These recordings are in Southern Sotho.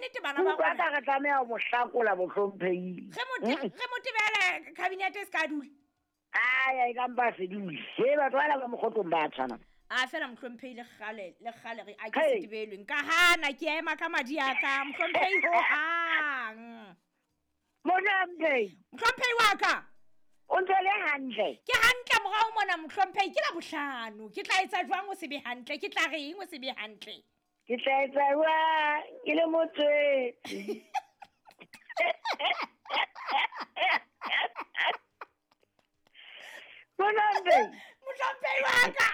nnete bana ba Utlwa ka re tlameha ho mo hlakola mohlomphehile. Ge motebele cabinet e se ka dule. Aya, e ka mpa se dule. He, batho bana ba mokgotlong ba tshwana. A fela mohlomphehile le kgale re a ke setebelweng ka hana ke ema ka madi a ka mohlomphehile ho hang. Mohlomphehile. Mohlomphehile wa ka. O ntse le hantle. Ke hantle morao mona mohlomphehile ke la bohlano. Ke tla etsa jwang o se be hantle? Ke tla reng o se be hantle? Ke tla etsa jwang ke le motswetse? Mohlomphehile. Mohlomphehile wa ka.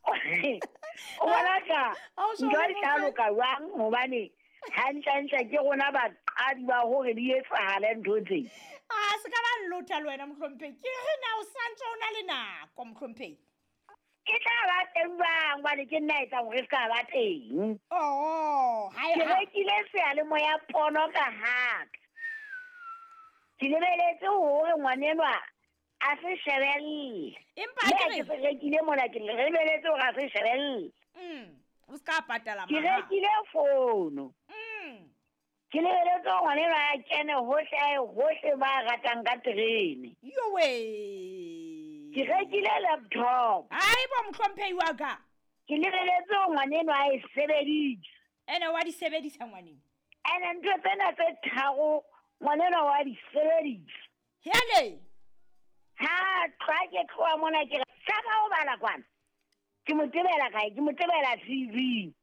O bona ka ntho e tla loka jwang hobane hantlentle ke rona baqadi ba hore di etsahale ntho tse. A se ka ba nlotha le wena mohlomphehile. Ke re na o santse o na le nako mohlomphehile. Ke tla ba teng jwang hobane ke nna etsang hore se ka ba teng. Oh, ha ke rekile seyalemoya pono ka haka. Ke lebeletse hore ngwanenwa a se shebelle. Empa ke re ke rekile mona ke lebeletse hore a se shebelle. O se ka patala mahala. Ke rekile fono. Ke lebeletse hore ngwanenwa a kene hohle ba ratang ka terene. Yowe. Ke rekile laptop. Ai bo mohlomphehile wa ka. Ke lebeletse hore ngwanenwa a e sebedise. Ene wa di sebedisa ngwaneno. Ene ntho tsena tse tharo ngwanenwa wa di sebedisa. Hele. Ha tla ke tloha mona ke re saka o bala kwana. Ke mo tebela kae? Ke mo tebela TV.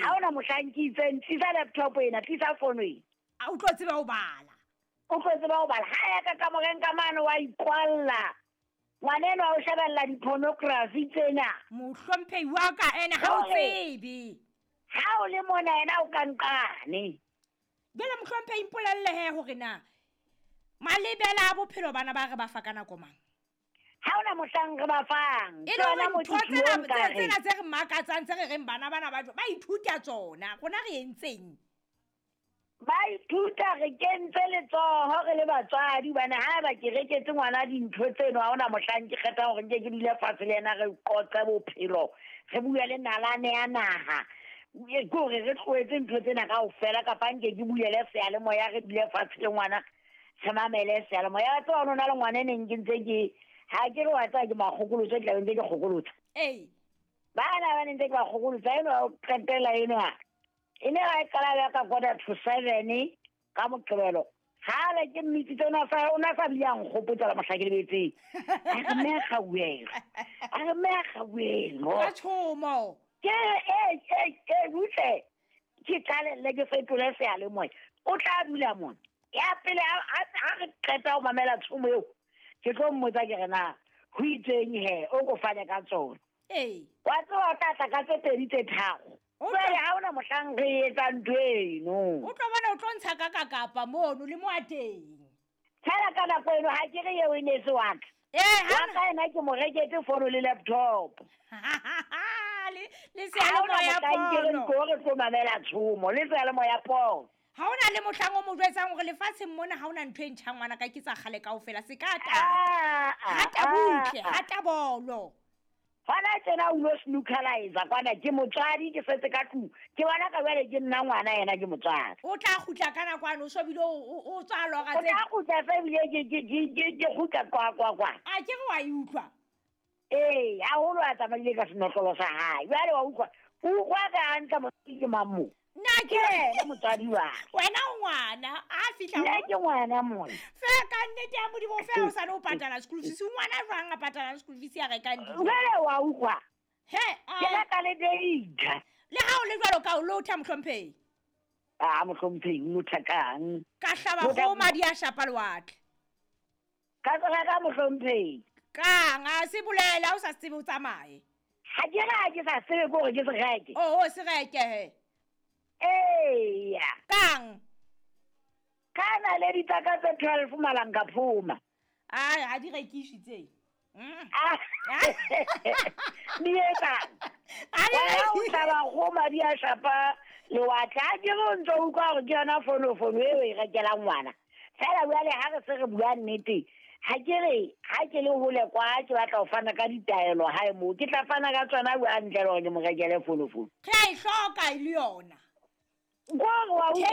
Ha ona mohlang ke itseng tlisa laptop ena, tlisa fono ena. A o tlo tseba ho bala. O tlo tseba ho bala. Ha ya ka kamoreng ka mane wa ikwalla. Ngwanenwa o shebella di-pornography tsena. Mohlomphehi wa ka ene ha o tsebe. Ha o le mona yena o ka nqane. Jwale mohlomphehi mpolelle he hore na malebela a bophelo bana ba re ba fa ka nako mang? Ha ona mohlang re ba fang. E le hore ntho tsena tse re makatsang tse re reng bana bana ba ithuta tsona. Rona re entseng? Ba ithuta re kentse letsoho re le batswadi bana ha ba ke reketse ngwana dintho tseno ha ona mohlang ke kgetha hore nke ke dule fatshe le yena re qoqe bophelo re bue le nalane ya naha ke hore re tlohetse ntho tsena kaofela kapa nke ke buele seyalemoya re dule fatshe le ngwana re mamele seyalemoya. Wa tseba ho na le ngwana e neng ke ntse ke ha ke re wa tseba ke makgokolotso ke tlabe ntse ke kgokolotsa. Ee. Bana ba ne ntse ke ba kgokolotsa eno o qetela eno e ne ga e qala ya ka 6:45 ka Moqebelo. Ha le ke mmitsitse o na sa bile a nkgopotsa la mohla ke lebetseng. A re mme a kgauwelo. A re mme a kgauwelo. Ka tshomo. Ke butle. Ke qalelle ke fetole seyalemoya. O tla dula mona. Ya pele ha re qeta ho mamela tshomo eo, ke tlo mmotsa ke re na ho itseng he o ko fane ka tsona. Ee. Wa tseba o tla tla ka tse pedi tse tharo. Jwale ha ona mohlang re etsang ntho eno. O tlo bona o tlo ntsha ka kapa mono le mo a teng. Fela ka nako eno ha ke re eo e ne se wa ka. Ha ka ena ke mo reketse fono le laptop. Le seyalemoya pono. Ke re tlo mamela tshomo le seyalemoya pono. Ha ona le mohlang o mo jwetsang hore lefatsheng mona ha ona ntho e ntjha ngwana ka ke tsa kgale kaofela se ka ta. Hata butle, hata bolo. Hona tjena o lo snookerizer kwana ke motswadi ke setse ka tlung. Ke bona ka jwale ke nna ngwana yena ke motswadi. O tla kgutla ka nako ano so bile o tswa lora tse. O tla kgutla se bile ke kgutla kwa kwa kwa. A ke re wa e utlwa. Ee, haholo a tsamaile ka senotlolo sa hae. Jwale wa utlwa. O utlwa ka hantle motswadi ke mang mo? Nna ke motswadi wa. Wena o ngwana a fihla. Nna ke ngwana mona. Fela ka nnete ya Modimo fela o sane o patala school fees. Ngwana jwang a patalang school fees ya rekang dijo? Jwale wa utlwa. He, ke reka le data. Le ha o le jwalo ka o lotha mohlomphehile. A mohlomphehile o lotha kang? Ka hlaba kgomo madi a shapa lewatle. Ka tsoga ka mohlomphehile. Kang a se bolela o sa tsebe o tsamaye. Ha ke re ha ke sa tsebe ke hore ke se reke. Oh, se reke he. Eya. Kang? Ka na le ditaka tse 12 malang ka phuma. Ai, ha di rekiswe tse. Di etsang? O hlaba kgomo di a shapa lewatle. Ha ke re o ntso utlwa hore ke yona fonofono eo e rekelang ngwana. Fela jwale ha re se re bua nnete, ha ke re ha ke le hole kwa ke batla ho fana ka ditaelo hae moo, ke tla fana ka tsona hantle hore ke mo rekele fonofono. Re a e hloka e le yona. Wa utlwa.